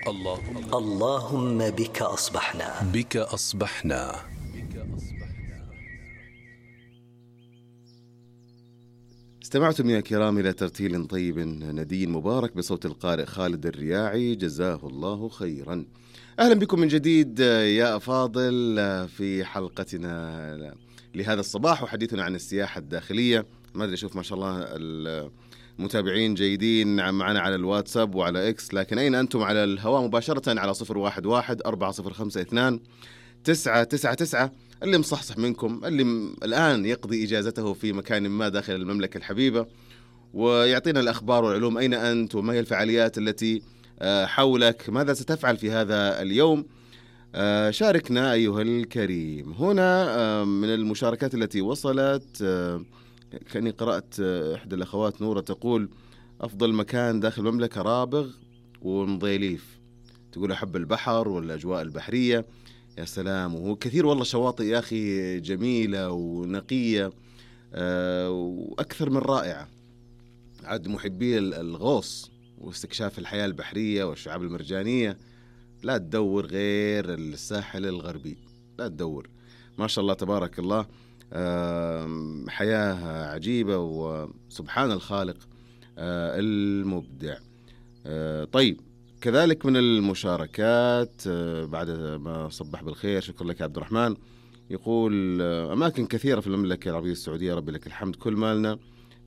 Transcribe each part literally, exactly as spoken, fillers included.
اللهم اللهم بك أصبحنا بك أصبحنا استمعتم يا كرام إلى ترتيل طيب ندين مبارك بصوت القارئ خالد الرياعي، جزاه الله خيرا. أهلا بكم من جديد يا أفاضل في حلقتنا لهذا الصباح وحديثنا عن السياحة الداخلية. ما أدري أشوف ما شاء الله المتابعين جيدين معنا على الواتساب وعلى إكس، لكن أين أنتم على الهواء مباشرة على صفر واحد واحد أربعة صفر خمسة اثنان تسعة تسعة تسعة. اللي مصحصح منكم اللي م... الآن يقضي إجازته في مكان ما داخل المملكة الحبيبة ويعطينا الأخبار والعلوم. أين أنت وما هي الفعاليات التي حولك؟ ماذا ستفعل في هذا اليوم؟ شاركنا أيها الكريم. هنا من المشاركات التي وصلت كأني قرأت إحدى الأخوات نورة تقول أفضل مكان داخل المملكة رابغ ومضيليف، تقول أحب البحر والأجواء البحرية. يا سلام، وهو كثير والله شواطئ يا أخي جميلة ونقية أه وأكثر من رائعة. عاد محبي الغوص واستكشاف الحياة البحرية والشعاب المرجانية لا تدور غير الساحل الغربي، لا تدور. ما شاء الله تبارك الله، أه حياة عجيبة وسبحان الخالق أه المبدع. أه طيب، كذلك من المشاركات بعد ما صبح بالخير، شكرا لك يا عبد الرحمن، يقول أماكن كثيرة في المملكة العربية السعودية، ربي لك الحمد، كل مالنا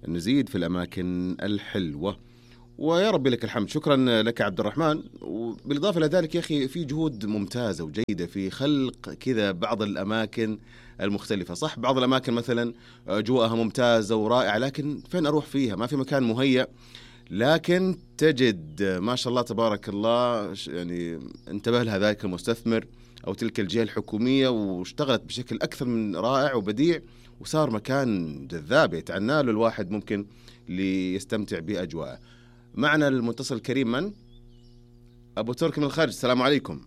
نزيد في الأماكن الحلوة ويا ربي لك الحمد. شكرا لك عبد الرحمن. وبالإضافة إلى ذلك يا أخي في جهود ممتازة وجيدة في خلق كذا بعض الأماكن المختلفة. صح بعض الأماكن مثلا أجواءها ممتازة ورائعة، لكن فين أروح فيها؟ ما في مكان مهيأ، لكن تجد ما شاء الله تبارك الله يعني انتبه لها ذلك المستثمر أو تلك الجهة الحكومية واشتغلت بشكل أكثر من رائع وبديع، وصار مكان جذاب يتعنى له الواحد ممكن ليستمتع بأجواءه. معنا المتصل الكريم من؟ أبو تركي من الخارج. السلام عليكم.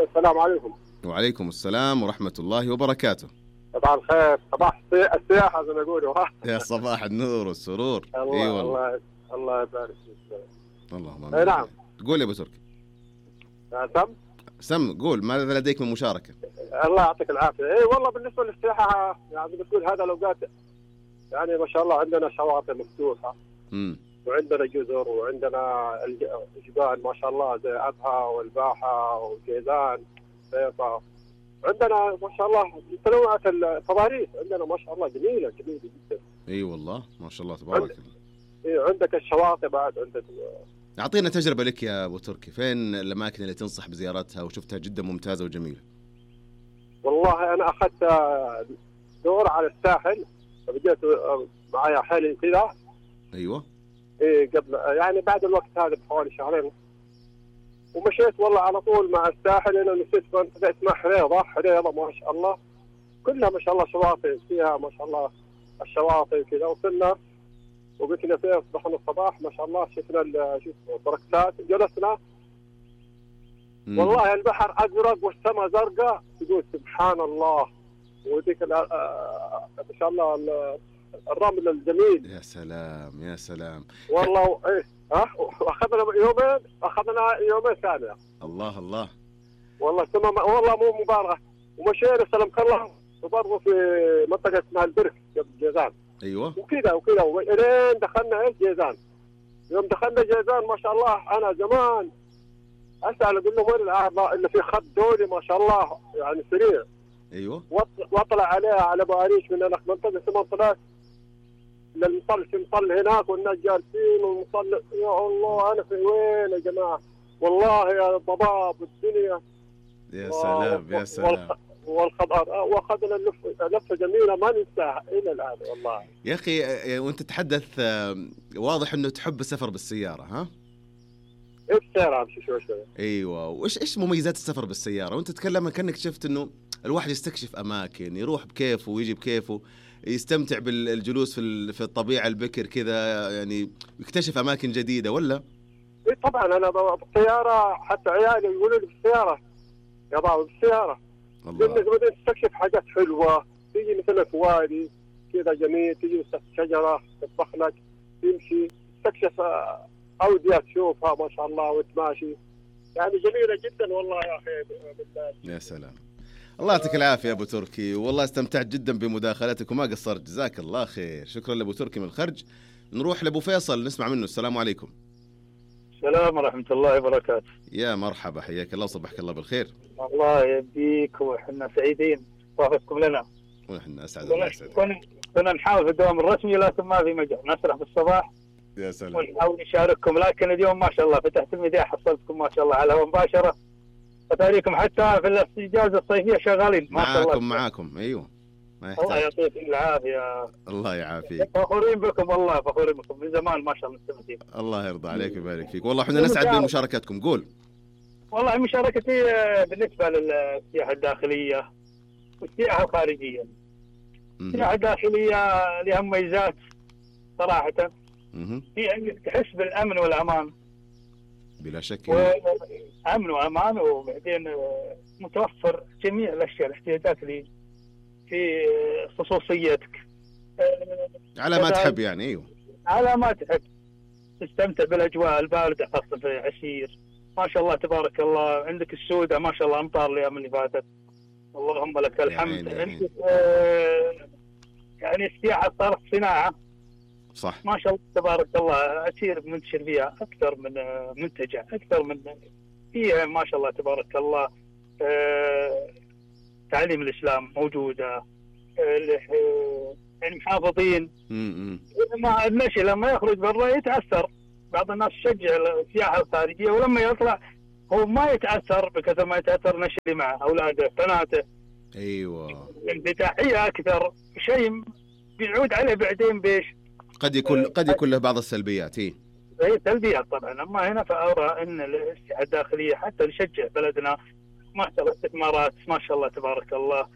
السلام عليكم. وعليكم السلام ورحمة الله وبركاته. صباح الخير، صباح السياحة زي ما يقولوا. يا صباح النور والسرور. الله إيه الله الله يبارك فيك. اللهم آمين. اي نعم. قول يا ابو تركي. سم سم قول، ماذا لديك من مشاركة؟ الله يعطيك العافية. اي والله بالنسبة للسياحة يعني بتقول هذا الأوقات يعني ما شاء الله عندنا شواطئ مفتوحة امم وعندنا جزر وعندنا الجبال ما شاء الله زي أبها والباحة وجيزان بيضة. عندنا ما شاء الله تنوعات التضاريس عندنا ما شاء الله جميلة جميلة جدا. اي والله ما شاء الله تبارك الله. إيه عندك الشواطئ بعد عندك. أعطينا تجربة لك يا أبو تركي، فين الأماكن اللي تنصح بزيارتها وشفتها جدا ممتازة وجميلة؟ والله أنا أخذت دور على الساحل وبديت معايا حالي كذا. أيوة. إيه قبل يعني بعد الوقت هذا بحوالي شهرين ومشيت والله على طول مع الساحل. أنا نسيت منطقة اسمها حريضة. حريضة ما شاء الله كلها ما شاء الله شواطئ فيها ما شاء الله الشواطئ كذا. وصلنا وبكنا فيها صبحنا الصباح ما شاء الله شفنا شو اسمه بركات، جلسنا مم. والله البحر أزرق والسماء زرقاء، تقول سبحان الله. وديك ما شاء الله الرمل الجميل. يا سلام يا سلام والله. ايه ها واخذنا يومين اخذنا يومين ثانيه. الله الله والله السماء والله مو مبالغه. ومشينا سلمك الله وبرضه في منطقه اسمها البرك قبل جيزان. ايوه وكذا وكذا الين دخلنا ايش جيزان. يوم دخلنا جيزان ما شاء الله انا زمان اسال اقول لهم وين الارض اللي في خط دولي ما شاء الله يعني سريع. ايوه واطلع عليها على باريش من هناك منطقه اسمها طلعت للمصل في مصل هناك والناس جالسين والمصل. يا الله انا في وين يا جماعه؟ والله يا ضباب الدنيا. يا سلام يا سلام. والخضار واخذنا لفه لفه جميله ما ننساها الى الان والله. يا اخي وانت تتحدث واضح انه تحب السفر بالسياره. ها ايش السياره امشي شوي شوي. ايوه. وايش ايش مميزات السفر بالسياره؟ وانت تتكلم كانك شفت انه الواحد يستكشف اماكن، يروح بكيفه ويجي بكيفه، يستمتع بالجلوس في في الطبيعه البكر كذا، يعني يكتشف اماكن جديده ولا؟ اي طبعا انا بالسياره حتى عيالي يقولوا لي بالسياره يا بابا بالسياره. الله. لانك بدأت تستكشف حاجات حلوه، تيجي مثلا في وادي كذا جميل، تيجي تحت شجره تطبخ لك، تمشي تستكشف أودية تشوفها ما شاء الله وتماشي، يعني جميلة جدا والله يا أخي بالله. يا سلام، الله يعطيك العافية يا أبو تركي، والله استمتعت جدا بمداخلتك وما قصرت، جزاك الله خير. شكرا لأبو تركي من الخرج. نروح لأبو فيصل نسمع منه. السلام عليكم. السلام ورحمة الله وبركاته. يا مرحبا، حياك الله وصبحك الله بالخير. الله يبيك وإحنا سعيدين وافقكم لنا. ونحن أسعد الله يسعدك. كنا كنا نحاول في الدوام الرسمي لكن ما في مجال، نسرح بالصباح. يا سلام. ونحاول نشارككم، لكن اليوم ما شاء الله فتحت المذياع حصلتكم ما شاء الله على الهواء مباشرة، فتاريكم حتى في الإجازة الصيفية شغالين ما شاء الله. معاكم معاكم أيوه. ما يحتاج. الله يعطيكم العافية. الله يعافيك. فخورين بكم والله، فخورين بكم من زمان ما شاء الله مستمتعين. الله يرضى عليك ويبارك فيك، والله احنا نسعد بمشاركتكم. قول. والله مشاركتي بالنسبة للسياحة الداخلية والسياحة الخارجية. السياحة الداخلية لها مميزات صراحة، في أنك تحس بالأمن والأمان بلا شك. أمن وأمان، وبعدين متوفر جميع الأشياء الاحتياجات اللي في خصوصيتك على ما تحب يعني. أيوه على ما تحب، تستمتع بالأجواء الباردة خاصة في عسير ما شاء الله تبارك الله. عندك السودة ما شاء الله أمطار الأيام اللي فاتت، اللهم لك الحمد. عندك آه يعني السياحة صارت صناعة صح ما شاء الله تبارك الله. عسير منتشر فيها أكثر من منتجع، أكثر من فيها ما شاء الله تبارك الله. آه تعليم الإسلام موجودة، آه يعني محافظين. ما المشي لما يخرج برا يتأثر، بعض الناس يشجع السياحة الخارجية ولما يطلع هو ما يتأثر بكثر ما يتأثر نشي اللي معه أولاده بناته. أيوة انفتاحية أكثر، شيء بيعود عليه بعدين بيش قد يكون قد يكون له بعض السلبيات. هي هي سلبيات طبعا. أما هنا فأرى أن السياحة الداخلية حتى نشجع بلدنا ما شاء الله استثمارات ما شاء الله تبارك الله.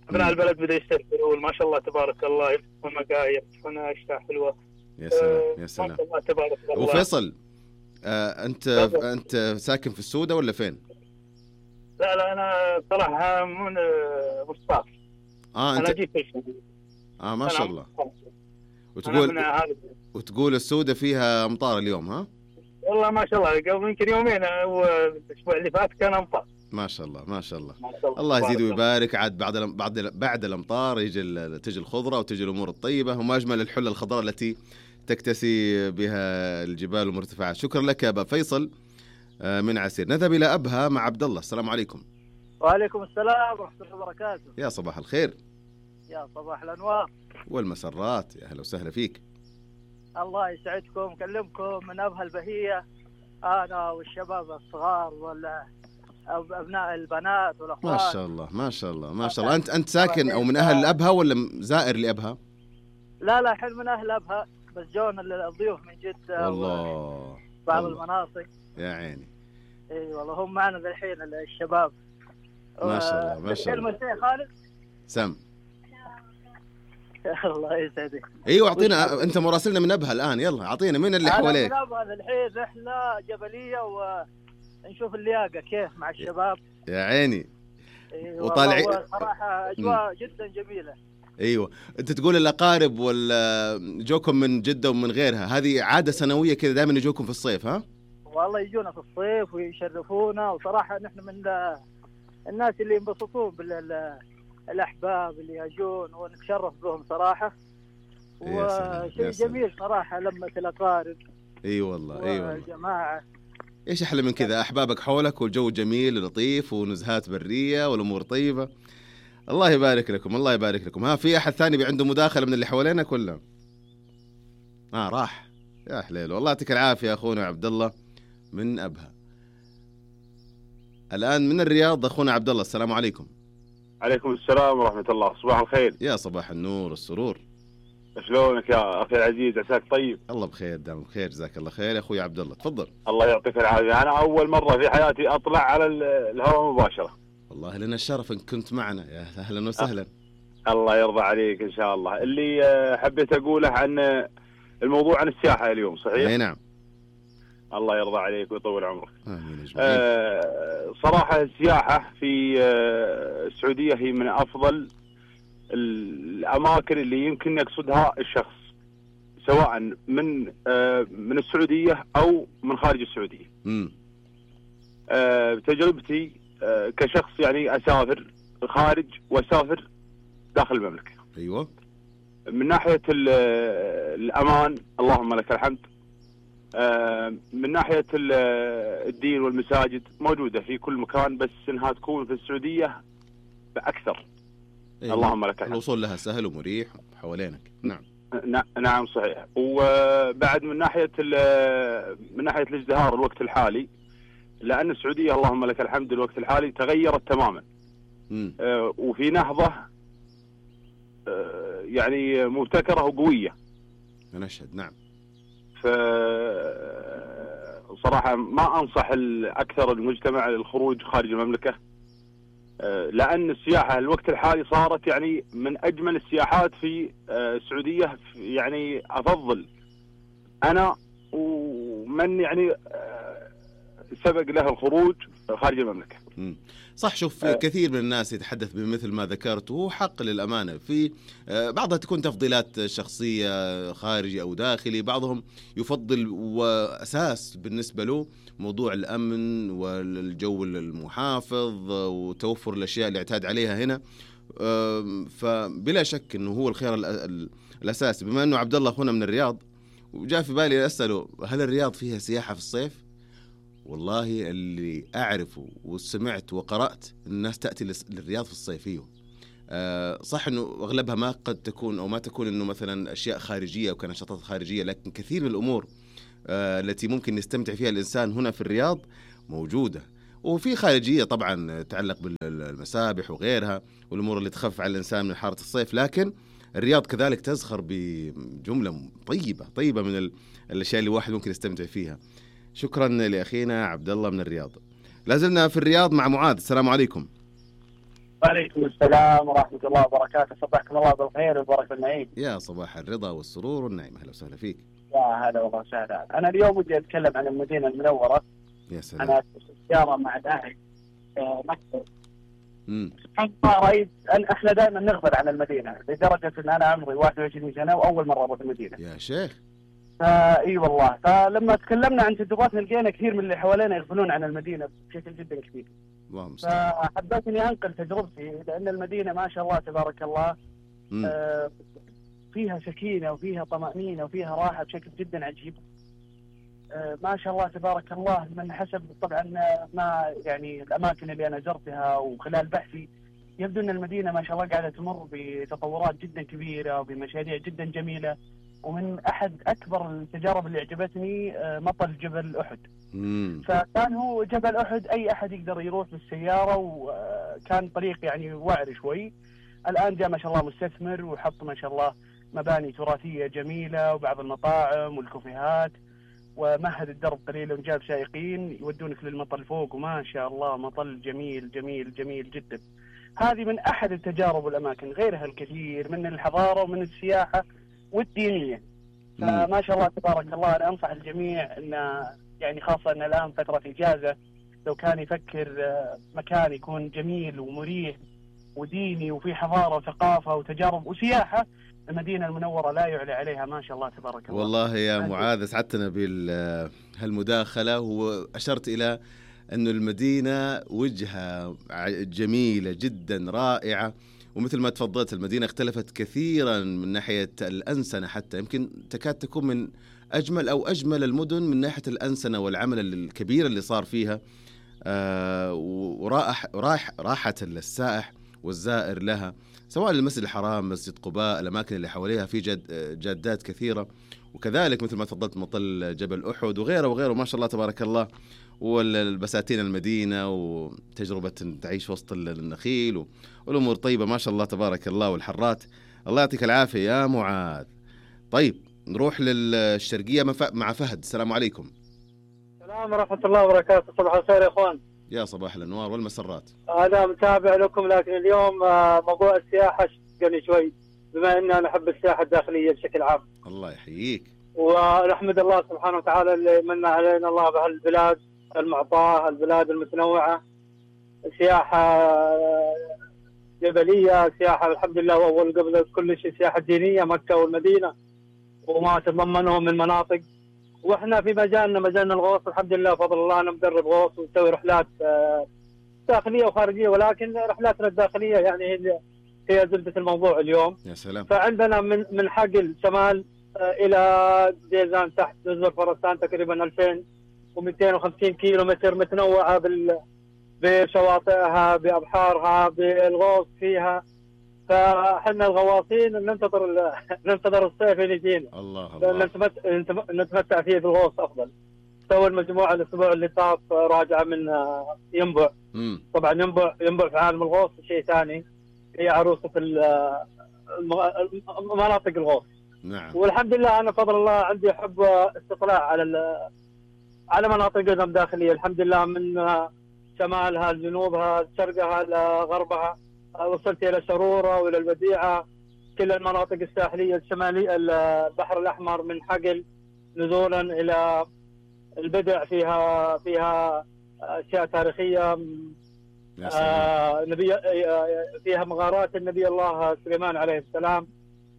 أبناء البلد بدأوا يستثمرون ما شاء الله تبارك الله، يفتحون مقاهي يفتحون أشياء حلوة. يا سلام يا سلام. ما شاء الله تبارك الله. وفيصل آه أنت طبعا. أنت ساكن في السودة ولا فين؟ لا لا أنا صراحة من مصطاف. آه أنت. أنا جيت في آه ما شاء الله. وتقول وتقول السودة فيها أمطار اليوم ها؟ والله ما شاء الله قبل يمكن يومين والأسبوع اللي فات كان أمطار. ما شاء الله ما شاء الله. ما شاء الله. الله يزيد ويبارك. عاد بعد بعد بعد الأمطار يجي تجي الخضرة وتجي الأمور الطيبة، وما أجمل الحلة الخضراء التي تكتسي بها الجبال والمرتفعات. شكرا لك يا أبا فيصل من عسير. نذهب إلى أبها مع عبد الله. السلام عليكم. وعليكم السلام ورحمة الله وبركاته. يا صباح الخير. يا صباح الأنوار والمسرات، يا أهلا وسهلا فيك. الله يسعدكم. كلمكم من أبها البهية أنا والشباب الصغار ولا أبناء البنات والأخوات. ما شاء الله ما شاء الله ما شاء الله. أنت أنت ساكن أو من أهل أبها ولا زائر لأبها؟ لا لا حل من أهل أبها، بس جونا الضيوف من جدة والله بعض الله. المناطق. يا عيني. اي والله هم معنا الحين الشباب. ما شاء الله ما شاء الله. كلمة خالد سم. الله يسعدك. ايوه اعطينا، انت مراسلنا من ابها الان، يلا اعطينا من اللي حواليك. انا من ابها الحين رحله جبليه ونشوف اللياقه كيف مع الشباب. يا عيني. أيوة وطالعين صراحه اجواء جدا جميله. ايوه انت تقول الاقارب ولا جوكم من جده ومن غيرها، هذه عاده سنويه كذا دائما يجوكم في الصيف ها؟ والله يجونا في الصيف ويشرفونا، وصراحه نحن من الناس اللي ينبسطون بالاحباب اللي يجون ونتشرف بهم صراحه. وشيء جميل صراحه لما الاقارب. اي والله اي والله الجماعه. ايش احلى من كذا؟ احبابك حولك والجو جميل لطيف ونزهات بريه والامور طيبه. الله يبارك لكم الله يبارك لكم. ها في احد ثاني عنده مداخله من اللي حوالينا كلهم؟ اه راح. يا حليل والله يعطيك العافيه يا اخونا عبد الله من ابها. الان من الرياض اخونا عبد الله. السلام عليكم. عليكم السلام ورحمه الله. صباح الخير. يا صباح النور والسرور. شلونك يا اخي العزيز؟ عساك طيب؟ الله بخير دام بخير جزاك الله خير يا اخوي عبد الله. تفضل. الله يعطيك العافيه. انا اول مره في حياتي اطلع على الهواء مباشره. والله لنا الشرف ان كنت معنا، يا اهلا وسهلا. الله يرضى عليك ان شاء الله. اللي حبيت اقوله عن الموضوع عن السياحه اليوم، صحيح؟ اي نعم. الله يرضى عليك ويطول عمرك. امين اجمعين. آه صراحه السياحه في آه السعوديه هي من افضل الاماكن اللي يمكن يقصدها الشخص سواء من آه من السعوديه او من خارج السعوديه. امم آه بتجربتي آه كشخص يعني اسافر خارج واسافر داخل المملكه. ايوه. من ناحيه الامان اللهم لك الحمد. آه من ناحيه الدين والمساجد موجوده في كل مكان، بس انها تكون في السعوديه باكثر. أيوة. اللهم لك الحمد. الوصول لها سهل ومريح حوالينك. نعم. نعم صحيح. وبعد من ناحيه من ناحيه الازدهار الوقت الحالي، لان السعوديه اللهم لك الحمد الوقت الحالي تغيرت تماما. امم آه وفي نهضه آه يعني مبتكره وقويه. انا اشهد. نعم. ف صراحه ما انصح اكثر المجتمع للخروج خارج المملكه، آه لان السياحه الوقت الحالي صارت يعني من اجمل السياحات في آه السعوديه. يعني افضل انا ومن يعني آه سبق له الخروج خارج المملكه. مم. صح. شوف، أه كثير من الناس يتحدث بمثل ما ذكرت، وهو حق للأمانة. في أه بعضها تكون تفضيلات شخصية خارجي أو داخلي، بعضهم يفضل وأساس بالنسبة له موضوع الأمن والجو المحافظ وتوفر الأشياء اللي اعتاد عليها هنا. أه فبلا شك أنه هو الخيار الأساس. بما أنه عبد الله أخونا من الرياض، وجاء في بالي أسأله هل الرياض فيها سياحة في الصيف؟ والله اللي أعرفه وسمعت وقرأت الناس تأتي للرياض في الصيفية. أه صح أنه أغلبها ما قد تكون أو ما تكون أنه مثلا أشياء خارجية أو كنشاطات خارجية، لكن كثير من الأمور أه التي ممكن يستمتع فيها الإنسان هنا في الرياض موجودة. وفي خارجية طبعا تتعلق بالمسابح وغيرها والأمور اللي تخفف على الإنسان من حارة الصيف، لكن الرياض كذلك تزخر بجملة طيبة طيبة من الأشياء اللي واحد ممكن يستمتع فيها. شكرا لأخينا عبد الله من الرياض. لازلنا في الرياض مع معاذ. السلام عليكم. وعليكم السلام ورحمة الله وبركاته. صباحكم الله بالخير والبركة والنعيم. يا صباح الرضا والسرور والنعيم. أهلا وسهلا فيك. يا هلا والله وسهلا. أنا اليوم ودي أتكلم عن المدينة المنورة. يا سلام. أنا سيارة مع أهلي مكتب. امم سبحان الله رأيت أن إحنا دائما نغفل عن المدينة، لدرجة أن أنا عمري واحد وعشرين سنة وأول مرة أروح المدينة. يا شيخ. اي والله. فلما تكلمنا عن تجرباتنا لقينا كثير من اللي حوالينا يغفلون عن المدينه بشكل جدا كبير. اللهم فحبيت اني انقل تجربتي، لان المدينه ما شاء الله تبارك الله آه فيها سكينه وفيها طمانينه وفيها راحه بشكل جدا عجيب. آه ما شاء الله تبارك الله. من حسب طبعا ما يعني الاماكن اللي انا زرتها وخلال بحثي، يبدو ان المدينه ما شاء الله قاعده تمر بتطورات جدا كبيره وبمشاريع جدا جميله. ومن أحد أكبر التجارب اللي عجبتني مطل جبل أحد. مم. فكان هو جبل أحد أي أحد يقدر يروح بالسيارة، وكان طريق يعني وعر شوي. الآن جاء ما شاء الله مستثمر وحط ما شاء الله مباني تراثية جميلة وبعض المطاعم والكافيهات، ومهد الدرب قليلا وجاب سائقين يودونك للمطل فوق، وما شاء الله مطل جميل جميل جميل جدا. هذه من أحد التجارب والأماكن، غيرها الكثير من الحضارة ومن السياحة والدينية. فما شاء الله تبارك الله. أنا أنصح الجميع أن يعني خاصة أن الآن فترة إجازة، لو كان يفكر مكان يكون جميل ومريح وديني وفي حضارة وثقافة وتجارب وسياحة، المدينة المنورة لا يعلى عليها ما شاء الله تبارك الله. والله يا معاذ سعدتنا بهالمداخلة، وأشرت إلى أنه المدينة وجهة جميلة جدا رائعة، ومثل ما تفضلت المدينة اختلفت كثيرا من ناحية الأنسنة، حتى يمكن تكاد تكون من أجمل أو أجمل المدن من ناحية الأنسنة والعمل الكبير اللي صار فيها. آه وراح راح راحة للسائح والزائر لها، سواء المسجد الحرام، مسجد قباء، الأماكن اللي حواليها في جد جادات كثيرة، وكذلك مثل ما تفضلت مطل جبل أحد وغيره وغيره ما شاء الله تبارك الله، والبساتين المدينة وتجربة تعيش وسط النخيل والأمور طيبة ما شاء الله تبارك الله، والحرات. الله يعطيك العافية يا معاذ. طيب نروح للشرقية مع فهد. السلام عليكم. السلام ورحمة الله وبركاته. صباح الخير يا أخوان. يا صباح الأنوار والمسرات. أنا متابع لكم، لكن اليوم موضوع السياحة شغلني شوي، بما أن أنا أحب السياحة الداخلية بشكل عام. الله يحييك. ونحمد الله سبحانه وتعالى اللي من علينا الله بهالبلاد المعطاة، البلاد المتنوعة، سياحة جبلية، سياحة الحمد لله، وأول قبل كل شيء سياحة دينية، مكة والمدينة. وما تضمنه من مناطق. واحنا في مجالنا مجالنا الغوص الحمد لله بفضل الله، انا مدرب غوص ونسوي رحلات داخليه وخارجيه، ولكن رحلاتنا الداخليه يعني هي هي زبده الموضوع اليوم. يا سلام. فعندنا من من حقل شمال الى جيزان تحت جزر فرسان تقريبا ألفين ومئتين وخمسين كيلو متر، متنوعه بال بشواطئها بابحارها بالغوص فيها. فاحنا الغواصين ننتظر ال... ننتظر الصيف اللي يجينا. الله الله. نتمت... نتمتع فيه بالغوص افضل. سوى المجموعه الاسبوع اللي طاف راجعه من ينبع. مم. طبعا ينبع ينبع في عالم الغوص شيء ثاني، هي عروسه مناطق الغوص. نعم. والحمد لله انا بفضل الله عندي حب استطلاع على ال... على مناطقنا الداخليه الحمد لله، من شمالها لجنوبها شرقها لغربها، وصلت الى شروره والى الوديعه، كل المناطق الساحليه الشماليه البحر الاحمر من حقل نزولا الى البدع، فيها فيها اشياء تاريخيه. آه نبي فيها مغارات النبي الله سليمان عليه السلام.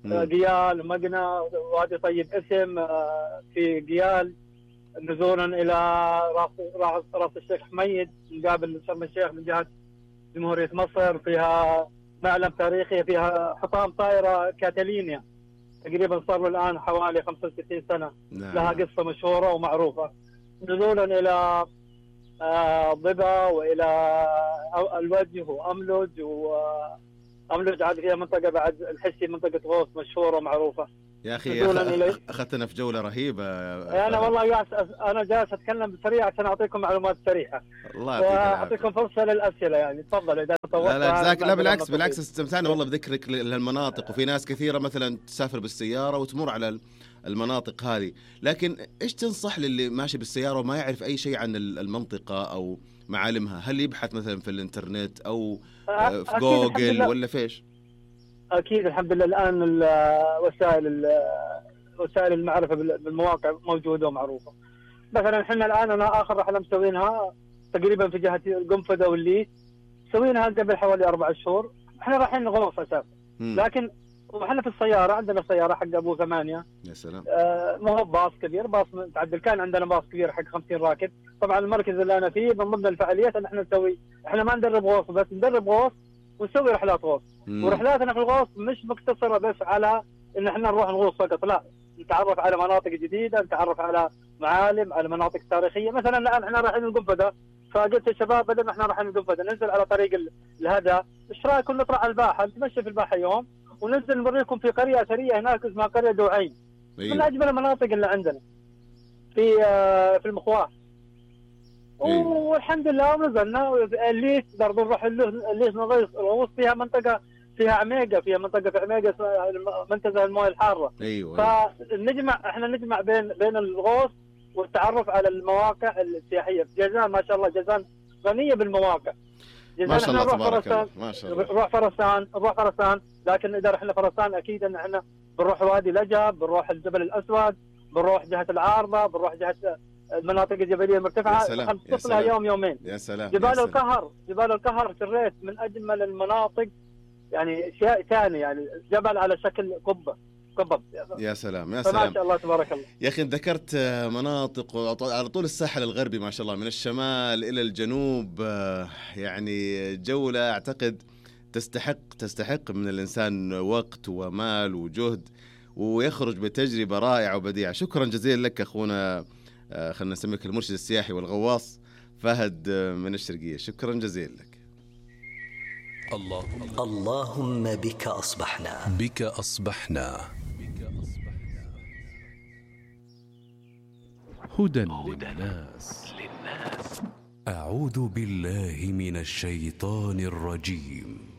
آه قيال مقنى وادي طيب اسم آه في قيال نزولا الى راس راس, راس الشيخ حميد مقابل شرم الشيخ من جهه جمهوريه مصر. فيها معلم تاريخي، فيها حطام طائره كاتالينيا تقريبا صار له الان حوالي خمسة وستين سنه. نعم. لها قصه مشهوره ومعروفه. نزولا الى آه ضبا والى الوجه واملج، واملج عاد فيها منطقه بعد الحسي منطقه غوص مشهوره ومعروفه. يا اخي اخذتنا في جوله رهيبه. انا والله جالس انا جالس اتكلم بسريع عشان اعطيكم معلومات سريعه. الله يعطيك العافيه. واعطيكم فرصه للاسئله يعني تفضل اذا طولت. لا لا جزاك. لا بالعكس بالعكس استمتعنا والله بذكرك للمناطق، وفي ناس كثيره مثلا تسافر بالسياره وتمر على المناطق هذه، لكن ايش تنصح للي ماشي بالسياره وما يعرف اي شيء عن المنطقه او معالمها؟ هل يبحث مثلا في الانترنت او في جوجل ولا فيش؟ اكيد الحمد لله الان وسائل وسائل المعرفه بالمواقع موجوده ومعروفه. مثلا احنا الان انا اخر رحله مسوينها تقريبا في جهه القنفذه والليث، مسوينها قبل حوالي اربع شهور. احنا رايحين غوص اساسا، لكن واحنا في السياره عندنا سياره حق ابو ثمانيه. يا سلام. آه ما هو باص كبير، باص متعدل. كان عندنا باص كبير حق خمسين راكب. طبعا المركز اللي انا فيه من ضمن الفعاليات ان احنا نسوي، احنا ما ندرب غوص بس، ندرب غوص ونسوي رحلات غوص. مم. ورحلاتنا في الغوص مش مقتصره بس على ان احنا نروح نغوص فقط، لا، نتعرف على مناطق جديده، نتعرف على معالم، على مناطق تاريخيه. مثلا الان احنا رايحين القنفذه، فقلت للشباب بدل ما احنا رايحين القنفذه ننزل على طريق الهدى، ايش رايكم نطلع على الباحه، نتمشى في الباحه يوم وننزل نوريكم في قريه اثريه هناك اسمها قريه دوعين. أيوة. من اجمل المناطق اللي عندنا في في المخواة. أيوة. والحمد لله ونزلنا الليث برضه نروح الليث نغوص فيها منطقه فيها عميقه، فيها منطقه في عميقه اسمها منتزه المويه الحاره. ايوه. فنجمع احنا نجمع بين بين الغوص والتعرف على المواقع السياحيه. جيزان ما شاء الله جيزان غنيه بالمواقع. ما شاء الله تبارك الله. ما شاء الله. نروح فرسان نروح فرسان لكن اذا رحنا فرسان اكيد ان احنا بنروح وادي لجب، بنروح الجبل الاسود، بنروح جهه العارضه، بنروح جهه المناطق الجبليه المرتفعه، نخصص لها يوم يومين. يا سلام. جبال يا سلام. القهر جبال القهر في الريت من اجمل المناطق، يعني شيء ثاني، يعني جبل على شكل قبه قبب. يا سلام يا سلام. ما شاء الله تبارك الله. يا اخي ذكرت مناطق على طول الساحل الغربي ما شاء الله، من الشمال الى الجنوب، يعني جوله اعتقد تستحق تستحق من الانسان وقت ومال وجهد، ويخرج بتجربه رائعه وبديعه. شكرا جزيلا لك اخونا، خلينا نسميك المرشد السياحي والغواص فهد من الشرقيه. شكرا جزيلا لك. الله اللهم بك أصبحنا بك أصبحنا هدى للناس. أعوذ بالله من الشيطان الرجيم.